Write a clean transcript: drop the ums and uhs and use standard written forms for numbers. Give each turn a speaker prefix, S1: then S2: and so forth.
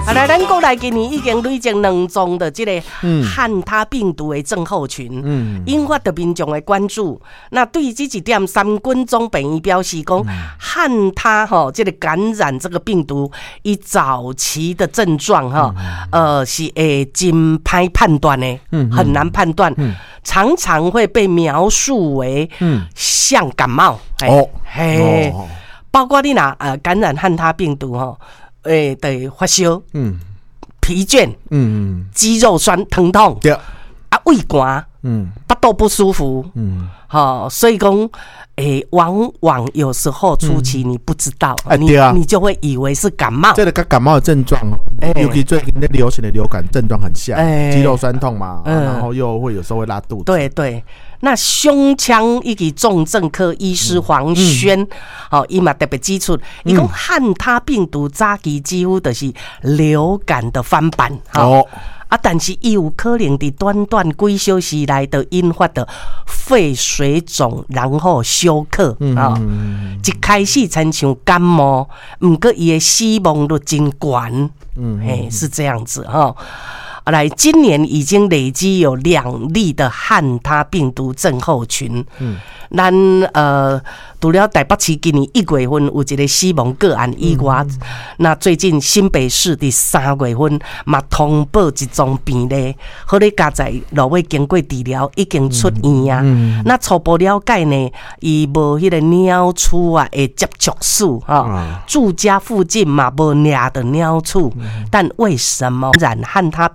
S1: 啊，來，咱國內今年已經累積兩宗的這个漢他病毒的症候群，引發著民眾的關注。那對於這一點，三軍總病院表示講，漢他吼這个感染這個病毒，伊早期的症狀哈，是會真歹判斷的，很難判斷，常常會被描述為像感冒。嘿，包括你若感染漢他病毒吼，會著發燒，疲倦，肌肉酸疼痛，啊，胃寒，腹肚不舒服，吼，所以講，往往有時候初期你不知道，你就會以為是感冒。
S2: 這个佮感冒的症狀，尤其最近咧流行的流感症狀很像，肌肉酸痛嘛，然後又會有時候會拉肚子。
S1: 對對，那胸腔以及重症科醫師黃軒，吼，伊嘛特別指出，伊講漢他病毒早期幾乎就是流感的翻版，哦。啊，但是伊有可能佇短短幾小時內就引發著肺水腫，然後休克啊。一開始親像感冒，毋過伊的死亡率真懸，嘿，是這樣子吼。來，今年已經累積有2例的漢他病毒症候群。咱除了台北市今年1月份有一个死亡個案以外，那最近新北市佇3月份嘛通報一宗病例，好咧，佳哉落尾經過治療已經出院啊。那初步了解呢，伊無彼个鳥鼠啊的接觸史吼，住家附近嘛無掠著鳥鼠，但為什麼染漢他？